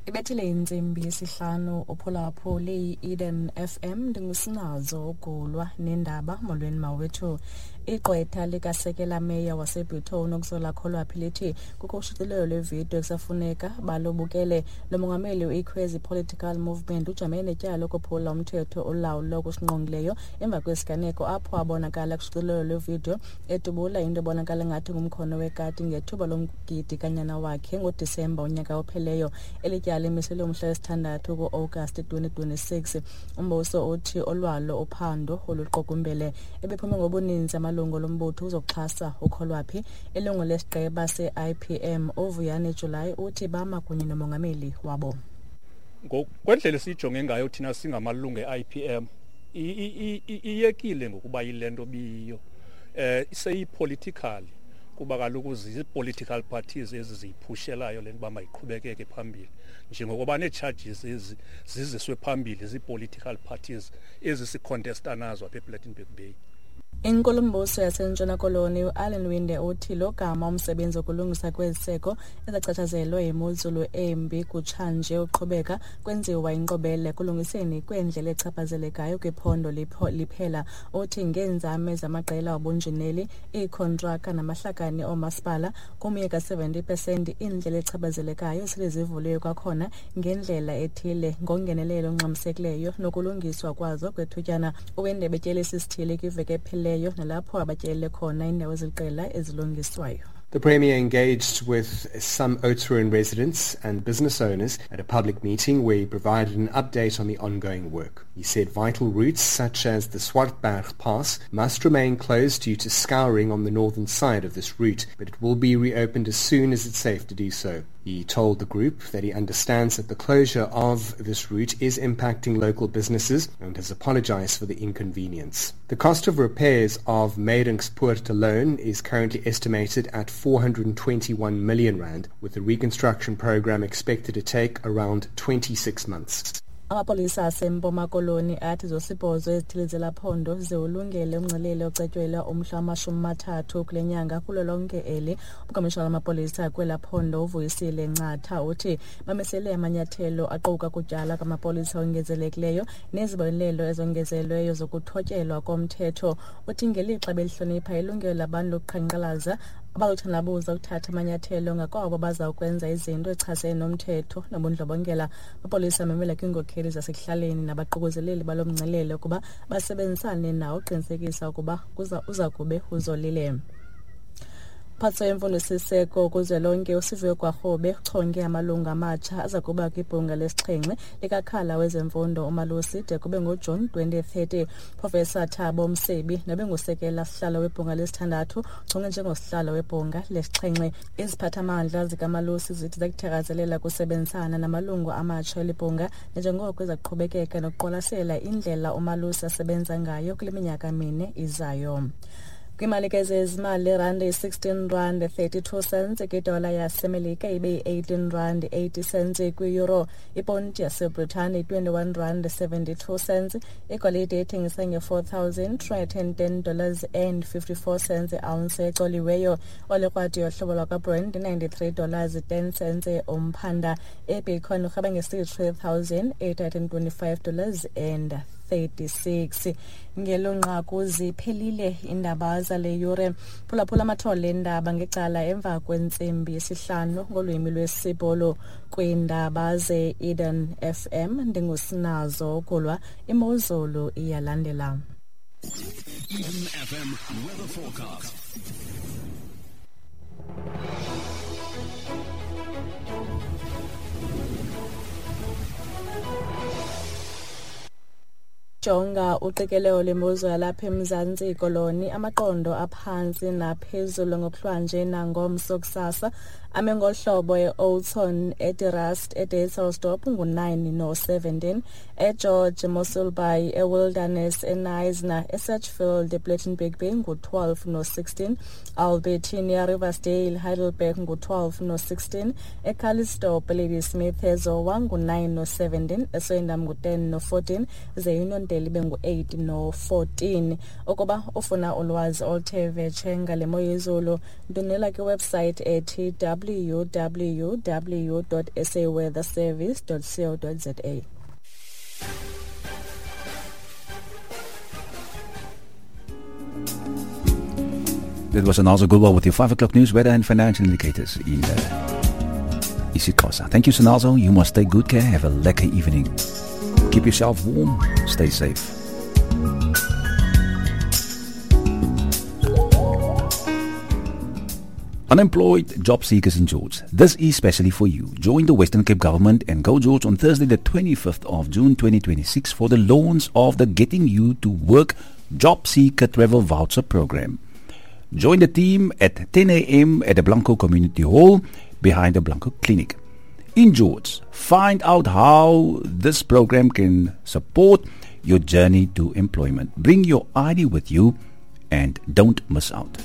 Ibethile intsimbi yesihlanu uphulaphuli i-Eden FM. Ndingusinazo ugulwa nendaba. Molweni mawethu. Igqwetha likasekela meya waseBhutho uNokuzola Kholwaphi lithi kukho ushicilelo lwevidiyo ekusafuneka balubukele. Lo mongameli uIkhwezi Political Movement ujamene netyala lokophula umthetho olawula okusingqongileyo emva kwesiganeko apho abonakala kushicilelo lwevidiyo edubula into ebonakala ngathi ngumkhono wekati ngethuba lomgidi kanyana wakhe ngoDisemba unyaka opheleyo. Eli tyala limiselwe umhla wesithandathu ku-Agasti 2026. Umbuso uthi olwalo uphando oluqukumbele. Ebephume ngobuninzi amalungu lombutho uzokuxhasa uKholwaphi. Ilungu lesigqeba se-IPM uVuyani July uthi bama kunye nomongameli wabo. Ngokwendlela esiyijonge ngayo thina singamalungu e-IPM, iyekile ngokuba yile nto biyiyo, seyi-political, kuba kaloku zii-political parties ezi ziyiphushelayo le nto uba mayiqhubekeke phambili, njengokuba nee-charges ezi ziziswe phambili zii-political parties ezi si-contesta nazo apha ePlettenberg Bay. Inkulumbuso yaseNtshona Koloni uAllan Winde uthi lo gama umsebenzi wokulungisa kweziseko ezachatshazelwe yimozulu embi kutshanje uqhubeka kwenziwa inkqubela ekulungiseni kweendlela echaphazelekayo kwiphondo liphela. Uthi ngeenzame zamaqela obunjineli, iikhontraka namahlakani oomasipala, kumye ka-70% iindlela echaphazelekayo sele zivuliwe kwakhona ngendlela ethile ngongenelelo ongxamisekileyo nokulungiswa kwazo kwethutyana. UWinde betyelisa isithili kwiveki ephelileyo nalapho abatyelele khona iindawo eziliqela ezilungiswayo. The Premier engaged with some Oudtshoorn residents and business owners at a public meeting where he provided an update on the ongoing work. He said vital routes such as the Swartberg Pass must remain closed due to scouring on the northern side of this route, but it will be reopened as soon as it's safe to do so. He told the group that he understands that the closure of this route is impacting local businesses and has apologized for the inconvenience. The cost of repairs of Meiringspoort alone is currently estimated at 421 million rand, with the reconstruction program expected to take around 26 months. Amapolisa aseMpuma Koloni athi zosibhozo ezithile zelaphondo ziwulungele umngcelele ocetyelwa umhla wama-30 kule nyanga kulo lonke eli. Ukomishana wamapolisa kwela phondo uVuyisile Ncatha uthi bamisele amanyathelo aquka kutyala kwamapolisa ongezelekileyo nezibonelelo ezongezelweyo zokuthotyelwa komthetho. Uthi ngelixa belihlonipha ilungelo labantu lokuqhankqalaza, abazothandabuza ukuthatha amanyathelo ngakwabo bazawukwenza izinto echasene nomthetho nobundlobongela. Amapolisa amemela kwiinkokheli zasekuhlaleni nabaququzeleli balo mngcelele ukuba basebenzisane nawo uqinisekisa ukuba uza kube uzolile. Umphathiswa wemfundo siseko kuzwelonke uSiviwe Gwarube uchonge amalungu amatsha aza kuba kwibhunga lesixhenxe likakhala wezemfundo uMalusi de kube ngoJuni 2030. Professor Thabo Msebi nobengusekela sihlalo webhunga lesithandathu uchonge njengosihlalo webhunga lesixhenxe. Iziphathamandla zikaMalusi zithi zakuthakazelela kusebenzisana namalungu amatsha elibhunga nanjengoko izaqhubekeka nokuqwalasela indlela uMalusi asebenza ngayo kule minyaka mine izayo. Kwimali ke zezimali, irandi yi-16 rand 32 cents kwidola yaseMelika, ibe yi-18 rand 80 cents kwi-euro. Iponti yaseBritane yi-21 rand 72 cents. Igolide ithengisa nge-$4,310 dollars and 54 cents i-ounce ecoliweyo. Olikrwadi yohlobo lwakwaBrent 93 dollars 10 cents umphanda. Ibitcoin urheba nge-$63,825 dollars and 36. Ngelo nqaku ziphelile iindaba zale yure. Phulaphula amathole endaba ngecala emva kwentsimbi yesihlanu ngolwimi lwesiBhulu kwiindaba ze-Eden FM. Ndingusinazo ukulwa. Imozulu iyalandela. Eden FM weather forecast. Jonga uqikelelo lwemozulu yalapha eMzantsi Koloni. Amaqondo aphantsi naphezulu ngokuhlwanje nangomso kusasa ame ngolu hlobo: e-Oudtshoorn, eDe-Rust, eDysselsdorp ngu-9 no-17, eGeorge, Mossel Bay, eWilderness, eKnysna, eSedgefield, ePlettenberg Bay ngu-12 no-16, Albertinia, Riversdale, Heidelberg ngu-12 no-16, eCalitzdorp, Ladysmith, eZowa ngu-9 no-17, eSwellendam ngu-10 no-14, ze Uniondale ibe ngu-8 no-14. Ukuba ufuna ulwazi oluthe vetshe ngale mo yezulu, ndwendwela kwiwebsite ethi www saweatherservice co za. Dit was Anazo Gulwa with your 5 o'clock news, weather and financial indicators in isiXhosa. Thank you, Sanazo. You must take good care. Have a lekker evening. Keep yourself warm. Stay safe. Unemployed job seekers in George, this is specially for you. Join the Western Cape Government and Go George on Thursday the 25th of June 2026 for the launch of the Getting You to Work Job Seeker Travel Voucher Program. Join the team at 10 a.m. at the Blanco Community Hall behind the Blanco Clinic. In George, find out how this program can support your journey to employment. Bring your ID with you and don't miss out.